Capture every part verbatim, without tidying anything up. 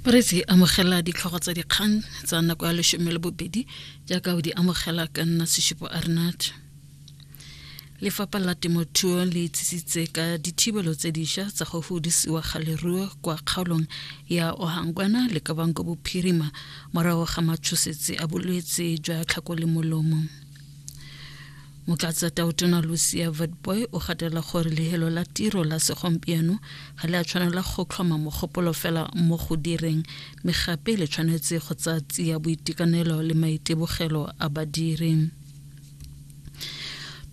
Bareetsi, amogela ditlhogo tsa dikgang tsa nako ya lesome le bobedi jaaka o di amogela ka nna Seshupo Arnat. Lefapha la Temothuo le itsisitse ka dithibelo tse dišwa tsa go fudisiwa ga leruo kwa kgaolong ya Ohangwena le Kavango Bophirima morago ga matshosetsi a bolwetse jwa tlhako le molomo. Motlatsa Tautona Lucia Witbooi o gatelela gore lehelo la tiro la segompieno ga le a tshwanela go tlhoma mogopolo fela mo go direng, mme gape le tshwanetse go tsaya tsia boitekanelo le maitebogelo a badiri.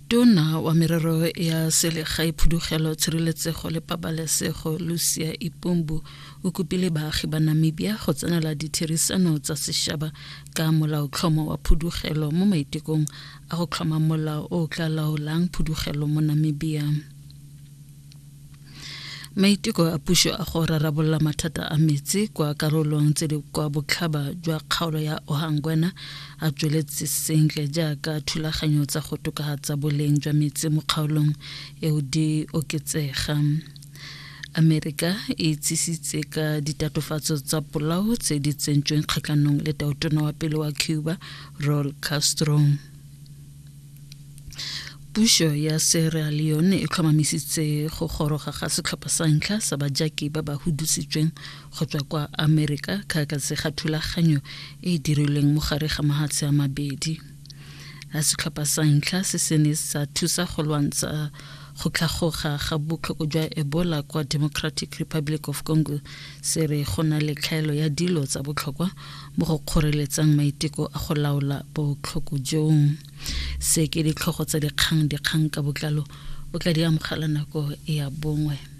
Tona wa merero ya selegae, phudugelo, tshireletsego le pabalesego Lucia Ipumbu o kopile baagi ba Namibia go tsenela ditherisano tsa sešaba ka molaotlhomo wa phudugelo mo maitekong a go tlhoma molao o o tla laolang phudugelo mo Namibia. Maiteko a puso a go rarabolola mathata a metsi kwa karolong tse di kwa botlhaba jwa kgaolo ya Ohangwena a tsweletse sentle jaaka thulaganyo tsa go tokafatsa boleng jwa metsi mo kgaolong eo di oketsega. Amerika e itsisitse ka ditatofatso tsa polao tse di tsentsweng kgatlhanong le tautona wa pele wa Cuba Raul Castro. Puso ya Sierra Leone e tlhomamisitse go goroga ga setlhopha sa ntlha sa bajaki ba ba hudusitsweng go tswa kwa Amerika kgakatse ga thulaganyo e e dirilweng mo gare ga mahatshe a mabedi. A setlhopha sa ntlha se se ne sa thusa go lwantsha go tlhagoga ga botlhoko jwa Ebola kwa Democratic Republic of Congo se re go na le tlhaelo ya dilo tsa botlhokwa mo go kgoreletsang maiteko a go laola botlhoko joo. Se ke ditlhogo tsa dikgang, dikgang ka botlalo o tla di amogela nako ya bongwe.